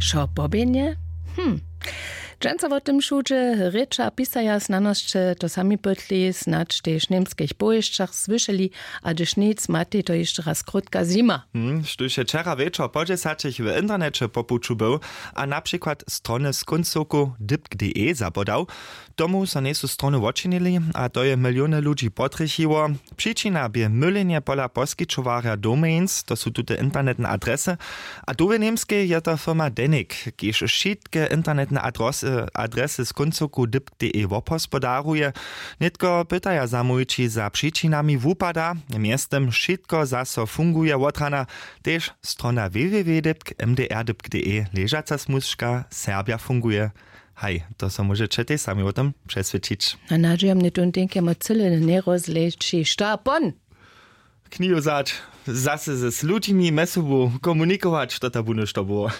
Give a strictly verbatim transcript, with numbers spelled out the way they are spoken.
Wšo poběhnje? Hm. Dźensa wo tym wšudźe rěča pisaja znanosće to sami pytli, snadź tež w němskich powěsćach słyšeli, a hdyž nic, matej to hišće raz krótka zjima. Hm, štóž je wčera wječor po dźesaćich w interneće po puću był a na přikład strony z kóncoku dypk.de zabodał, tomu so njejsu strony wočinili, a to je miliony ludźi potrjechiło. Přičina bě mylenje pola poskićowarja domains, to su tute internetne adresy. A tu w němskej je to firma Denik, kiž wšitke internetne adresy, adresy z kóncoku dypk.de wobhospodaruje. Nětko pytaja zamołwići za přičinami wupada, mjeztym wšitko zaso funguje wotrana, tež strona www.mdr.de ležaca smužka serbja funguje. Haj, to so móžeće tež sami wo tym přeswědčić. A nadźijam, nje tón tenkemo cyle njerozleći šta pon. Knihu wzać, zasy z ludźimi mjez sobu komunikować, to ta bónu što było.